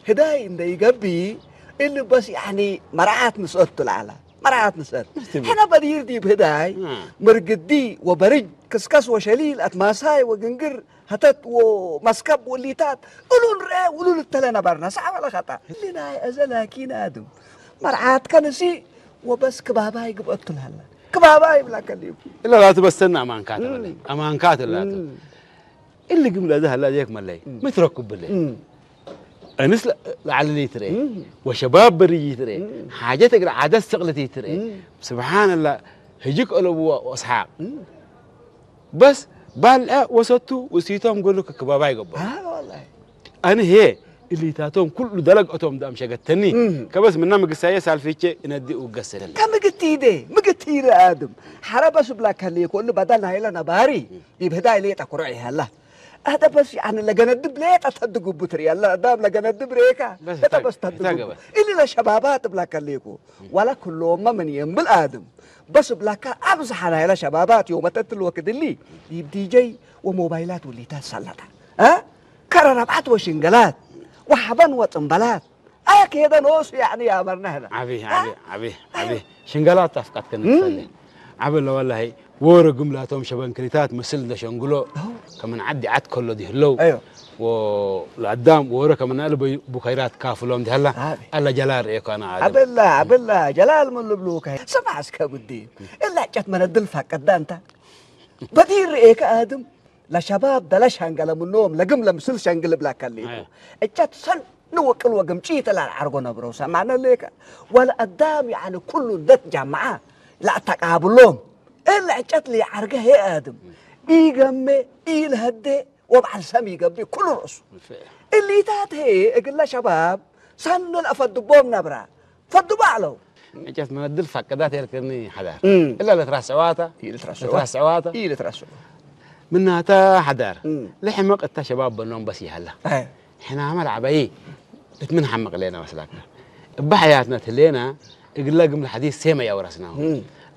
ህዳይ እንደ ይገቢ እልበስ ያኒ መርዓት ንስአት ትልዓላ መርዓት ንስአት ሕና በዲር ዲብ ህዳይ ምርግዲ ወበርጅ ክስከስ ወሸሊል አትማሳይ ወግንግር ሀተት ወመስከብ ወሊታት እሉን ርአ ውሉል እተለ ነበርና ሳዕ ወለ ኸጣ እሊ ናይ እዘ ላኪን አድም መርዓት ከንሲ ወበስ ክባባይ ግብአት ትልሃላ ክባባይ ብላ ከሊቡ እላ ላቱ በስተና አማንካት አማንካት ላቱ እሊ ግምለ እዛ ሀላ ዜክ መለይ ምትረኩብለ እንስ ለዓልሊ ትርኤ ወሸባብ በርይ ትርኤ ሓጀት እግር ዓደስ ስቕልት ትርኤ ስብሓንላ ህጂ ከእለብዎ ወስሓቅ በስ ባልዐ ወሰቱ ውስይቶም ገሉ ክክባባ ይገበሩ ኣነ ሄ እሊታቶም ኩሉ ደለግአቶም ዳም ሸገተኒ ከበስ ምና ምግሳየ ሳልፊቼ እነዲ ውገሰለል ከምግቲደ ምግቲደ አድም ሓረ በስ ብላ ከልየ ኮሉ በደል ናይለ ነባሪ ይብህዳ ይሌጠ ኩርዕ ይሃላ ኣህደ በስ ያኒ ለገነድብ ሌጠ ተድጉቡ ትርያለ አዳም ለገነድብ ሬካ እተ በስ ተድጉቡ እሊ ለሸባባት ብላ ከልየኩ ዋላ ክሎመ ምን የንብል አድም በስ ብላካ አብዝሓ ናይለ ሸባባት ዮመተትል ወክድሊ ዲብ ዲጀይ ወሞባይላት ውሊታት ሰለጠ ከረ ረብዓት ወሽንገላት ወሓበን ወጥንበላት አያ ከሄደ ኖሱ ያኒ ያመርና ህና ዓቢ ዓቢ ዓቢ ዓቢ ሽንገላት ኣፍቃት ከንትፈለ ዓቢ ለወላሂ ወረ ግምላቶም ሸበንክሪታት ምስል እንደሸንግሎ ከመን ዓዲ ዓት ከሎ ዲህለው ለአዳም ወረ ከመናል ቡኸይራት ካፍሎም ዲህላ አላ ጀላል ርኤኮ ኣና ዓቢ አበላ አበላ ጀላል ምን ልብሉ ከ ስማዕ እስከ ብዲ እላ ጨት መነድል ፋቀዳ እንታ በዲር ርኤከ አድም ለሸባብ ደለ ሸንገለ ምኖም ለግም ለምስል ሸንግል ብላ ከሊኩ እጨት ሰን ንወቅል ወግምጪ ተላል ዓርጎ ነብረው ሰማነ ሌከ ወለ አዳም ያኒ ኩሉ እንደት ጃማዓ ለአተቃብሎም እለ ዕጨት ለዓርገ ሄ አድም ኢገሜ ኢልሀዴ ወበዓል ሰም ይገብእ ኩሉ ርእሱ እሊታት ሄ እግለ ሸባብ ሰኒ ለአፈድቦም ነብራ ፈድቦ አለው። ዕጨት መነድል ፋቀዳት የልክኒ ሓዳር እላ ለትራስዕዋታ ለትራስዕዋታ ኢልትረስዑ ምናታ ሓዳር ለሕመቅ እታ ሸባብ በኖም በስ ይሃላ ሕናመ ለዓበይ እት ምን ሓመቅ ሌና መስላካ እባ ሓያትና ትሌና እግለ ግምል ሓዲስ ሴመ ያውረስናሁ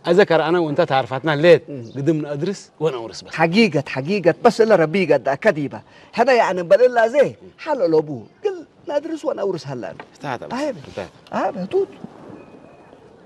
አዘ ከረአና ወንታ ታርፋትና ሌት ግድም ነአድርስ ወነውርስ በስ ሓጊገት ሓጊገት በስ እለ ረቢ ይገዳ ከዲባ ሕነ ያዕኒ በልላ ዘ ሓለሎቡ ግል ናድርስ ወነውርስ ሀላን እታት አብ ህቱት